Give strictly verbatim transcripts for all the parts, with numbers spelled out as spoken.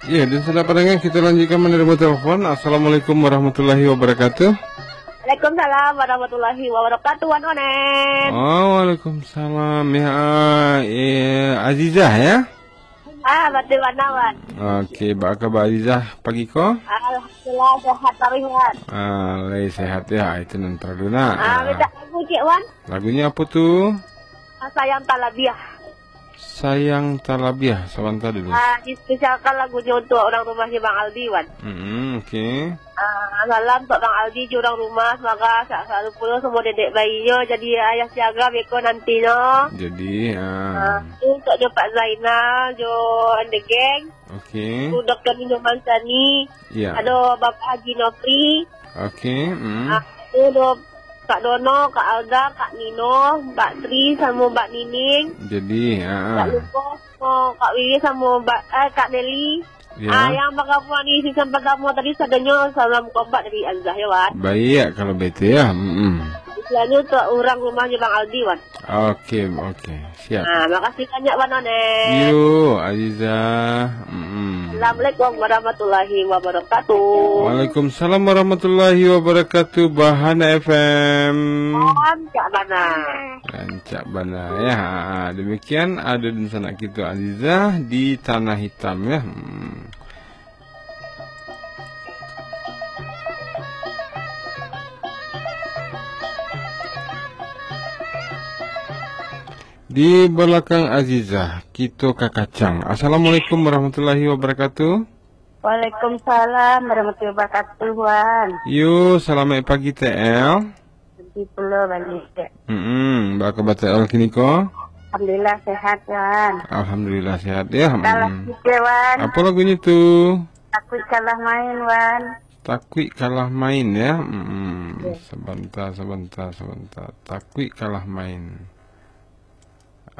Ya, dan sanak pandanga, kita lanjutkan menerima telepon. Assalamualaikum warahmatullahi wabarakatuh. Waalaikumsalam warahmatullahi wabarakatuh, Wan Onen. Oh, waalaikumsalam. Ya, eh, Azizah, ya? Ah, batul bana, Wan. Oke, baa kaba Azizah pagi ko? Alhamdulillah, sehat taruih, Wan. Ah, lai sehat, ya. Itu nan paralu, nak. Ah, Ah. minta lagu, Cik Wan. Lagunyo apo tu? Ah, Sayang Talabiah. Sayang Talabiah, sabanta dulu. Ah, dispesialkan lagunyo untuk urang rumahnyo Bang Aldi, Wan. Mm-mm, oke. Ah, salam untuk Bang Aldi jo urang rumah, semoga sehat selalu pulo samo dedek bayinyo, jadi ayah siaga beko nantinyo. Jadi, ah. Ah, tu untuknyo Pak Zainal jo and the gang. Oke. Tu Doktor Nino Mansani. Ya. Ado Bapak Haji Nofri. Oke, mm. Ah, tu do Kak Dono, Kak Alda, Kak Nino, Mbak Tri, samo Mbak Nining. Jadi, ah. Tak lupo, oh, Kak Wiwi samo Mbak, eh, Kak Nelly. Ya. Ah, yang bagabung di season pertama tadi, sadonyo salam kompak dari Azizah, ya, Wan. Baik, kalau begitu, ya. Mm-mm. Istilahnya untuk urang rumahnyo Bang Aldi, Wan. Oke, oke. Siap. Ah, makasih banyak, Wan Onen. Yo, Azizah. Mm-mm. Assalamualaikum warahmatullahi wabarakatuh. Waalaikumsalam warahmatullahi wabarakatuh. Bahana F M. Rancak bana. Rancak bana, ya. Ha, demikian ado dunsanak kito Azizah di Tanah Hitam, ya. Hmm. Di balakang Azizah, kito ka kacang. Assalamualaikum warahmatullahi wabarakatuh. Waalaikumsalam warahmatullahi wabarakatuh, Wan. Yo, salamaik pagi, T L. Nanti pulo balik. Mm-mm, baa kaba T L kini ko? Alhamdulillah sehat, Wan. Alhamdulillah sehat, ya. Salam Mm-mm. sikit, Wan. Apo lagunyo tu? Takuik kalah main, Wan. Takuik kalah main, ya. Mm-mm. Ya. Sabanta, sabanta, sabanta. Takuik kalah main.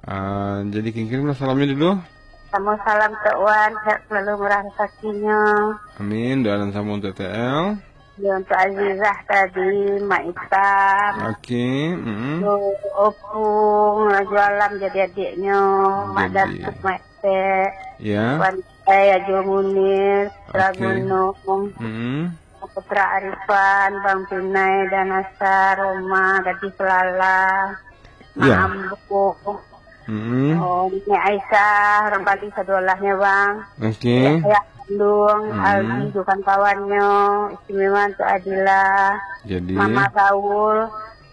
Ah, jadi kirim-kirimlah salamnyo dulu. Samo salam tu, Wan, sehat selalu murah rezakinyo. Amin. Doa nan samo untuk T L. Ya, untuk Azizah tadi, Mak Itam. Oke, mm. Tu Opung, Rajo Alam jadi adiknyo, Mak Jadi. Datuk, Mak Tek. Ya. Wan Ai, Ajo Munir, Putra Oke. Gunung. Mm. Putra Arifan, Bang Pinai, Danasa, Roma, Gadis Lala, Mak Ya. Ambo, Mm. oh, Nenek Aisyah, urang Bali sadoalahnyo, Bang. Oke. Ayah kandung, Mm. Aldi jo kawan-kawannyo, istimewa untuk Adila, Jadi. Mama Gaul,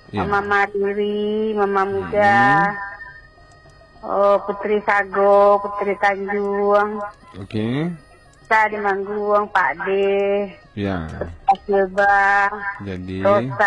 Ya. Mama Mariri, Mama Muda, Mm. oh, Putri Sago, Putri Tanjuang. Oke. Sa di Mangguang, Pak De. Ya. Asilba. Jadi. Rosa.